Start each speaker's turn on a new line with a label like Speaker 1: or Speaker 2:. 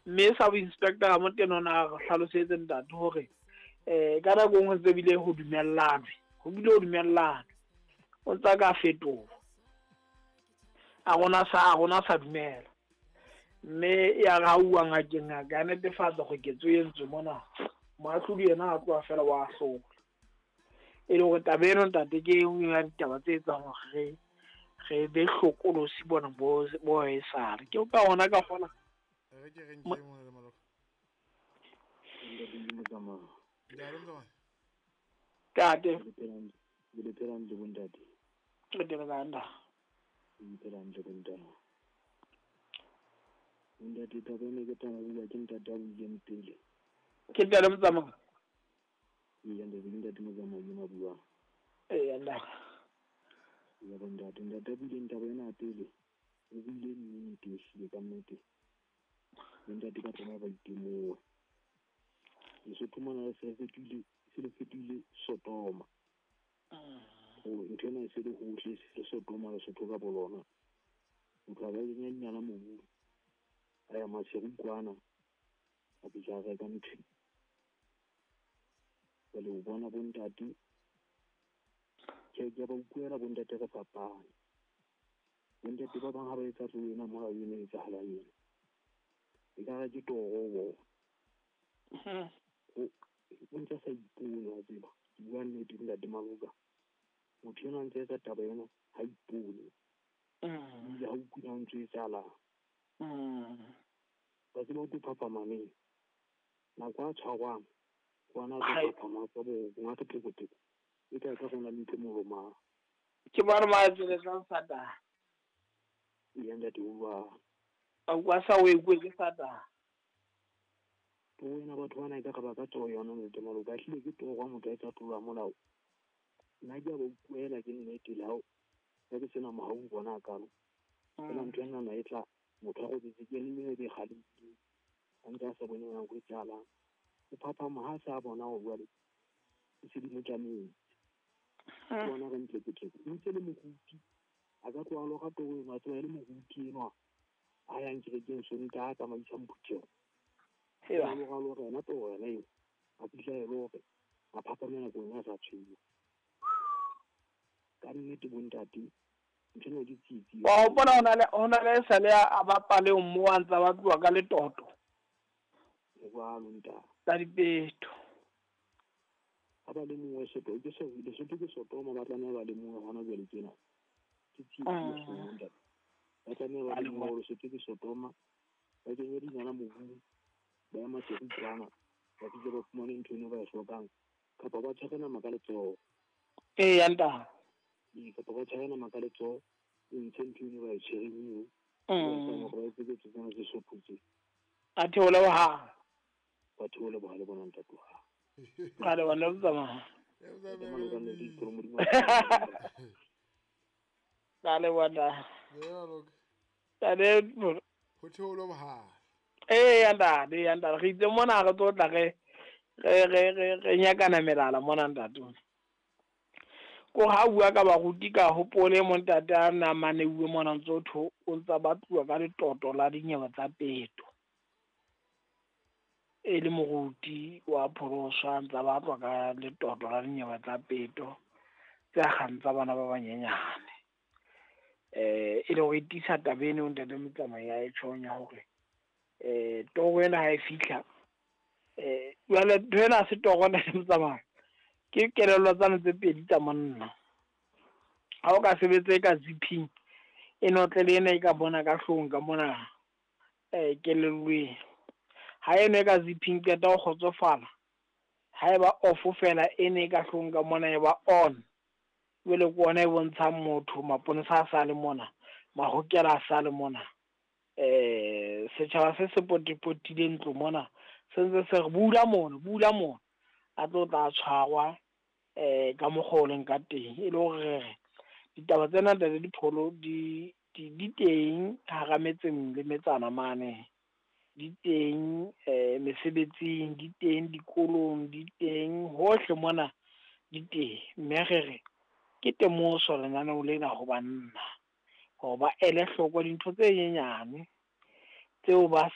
Speaker 1: Mme sub inspector Ramotene o na re hlalosetse ntate hore ka nako e nngwe ntse bile ho dumellanwe, ho bile ho dumellanwe. O ntsa ka fetoha. A rona sa a rona sa dumela. Mme ya re ha uwa ngakeng ngaka ya netefatsa hore ketso e entswe mona. Moahlodi yena a tloha fela wa hlola. E le hore taba eno ntate ke e nngwe ya ditaba tse etsang hore re be hlokolosi bona bo bo esale. Ke ka hona ka kgona
Speaker 2: Re ke re nke mona le Maloka.
Speaker 3: Ntate ke motsamao.
Speaker 2: Ntate Motsamai.
Speaker 1: Ntate.
Speaker 3: Le phela hantle bontate.
Speaker 1: Re teng ka nda.
Speaker 3: Le phela hantle bontate. Ntate taba ena ke taba bua ke ntate a buileng pele.
Speaker 1: Ke ntate Motsamao.
Speaker 3: Ee, ntate ke ntate Motsamao ke na buang.
Speaker 1: Ee, ntate.
Speaker 3: Ya bontate, ntate a buileng taba ena pele. O buile nnete ehlile ka nnete. Bontate ba tlameha ba itemohe. Lesotho mona se fetohile, se le fetohile Sodoma. Ntho ena e se le hohle, se le Sodoma Lesotho ka bolona. Motho a ka kenya dinyana mobung, a ya Maseru kwana, a fihla a reka ntho. Jwale o bona bontate, ke a ba utlwela bontate re fapane. Bontate ba bang ha ba etsa tlo ena molao ena e etsahalang ena. Ekare ke toro ho bona. O ntse a sa ipone wa tseba. Ke bua nnete ntate Maloka. Motho enwa a ntse etsa taba ena ha ipone. Ebile ha utlwe na ntho e etsahalang. Wa tseba o tlo phaphama neng? Nako a tshwarwang, kwana a tlo phaphama ka bo ngaka teko-teko. E ka ka rona le ntho e molomang.
Speaker 1: Ke bona ba tsweletsang Satane.
Speaker 3: Ee, ntate o jwalo.
Speaker 1: A kwa sa o ekwe ke Satane.
Speaker 3: Toro ena batho bana ekare ba ka toro yona ntate Maloka. Ehlile ke toro ha motho a etsa tlolo ya molao. Nna ke a ba utlwela ke nnete le hao ha ke sena mohau ho bona hakalo. Feela ntho enana e tla motho a robetse ke le ebe kgalefile. A ntse a sa bone nako e tsahalang. O phaphama ha a sa bona hore jwale e se di mo tlametse. Ke bona re ntleketleke. O ntse le moruti. A ka tloha lora toro eno, a tseba e le moruti enwa a yang kerekeng Sontaha a tsamaisang phutheho.
Speaker 1: Eba.
Speaker 3: Lora lora yona toro yona eo. A fihla e le hore a phapame nakong ya sa tshwenya. Ka nnete bontate, ntho ena ke tsietsi.
Speaker 1: Wa hopola hona le esale a bapale mo a ntsa ba tloha ka letoto.
Speaker 3: Jwalo ntate.
Speaker 1: Tsa dipeto.
Speaker 3: Ha ba le mongwe Sotho, ke so, Lesotho ke Sodoma, ba tlameha ba le mongwe hona jwale tjena. Ke tsietsi e kgolo ntate. Ba tlameha ba le mongwe Lesotho ke Sodoma. Ba kenye dinala mobung, ba ya Maseru kwana, ba fihle ba fumane ntho eno ba e hlokang. Kapa ba tshware nama ka letsoho.
Speaker 1: Ee, ya ntate.
Speaker 3: Ee, kapa ba tshware nama ka letsoho, e ntshe ntho eno ba e tshwereng eo. Ba etsang hore ba etse ketso tsena tse sotho tse.
Speaker 1: A theole bohale.
Speaker 3: Ba theole bohale bona ntate wa hao.
Speaker 1: Ka le bona tsamaya.
Speaker 3: Ntate Maloka, nne ke ikgolo Modimo.
Speaker 1: Ka le bona.
Speaker 2: Maloka.
Speaker 1: Ntate.
Speaker 2: Ho theole bohale.
Speaker 1: Ee, ntate, ya ntate. Re itse mona re tlo tla re nyakana melala mona ntate. Ko ha bua ka baruti ka hopole mo ntate a na maneuwe mona ntse o tho o ntsa ba tluwa ka letoto la dinyewe tsa peto. E le moruti wa pholoswa ntsa ba tlwa ka letoto la dinyewe tsa peto tse akgang tsa bana ba banyenyane. E le hore e tiisa taba eno ntate Motsamai ya e tjhong ya hore toro ena ha e fihla jwale ntho ena ha se toro ntate Motsamai. Ke kelello tsane tse pedi tsa monna. Ha o ka sebetsa e ka zipping e notle le ena e ka bona ka hloohong ka mona kelellweng. Ha eno e ka zipping qeta ho kgotsofala. Ha e ba off fela ene e ka hloohong ka mona e ba on. Jwale ke ona e bontshang motho maponesa a sa le mona, mahokela a sa le mona. Setjhaba se se potipotile ntlo mona se ntse se re bula mona, bula mona. A tlo tla tshwarwa ka mokgwa o leng ka teng. E le hore re re ditaba tsena ntate Dipholo di teng hara metseng le metsana mane. Di teng mesebetsing, di teng dikolong, di teng hohle mona di teng. Mme re re ke temoso lenaneo lena ho banna hore ba ele hloko dintho tse nyenyane tseo ba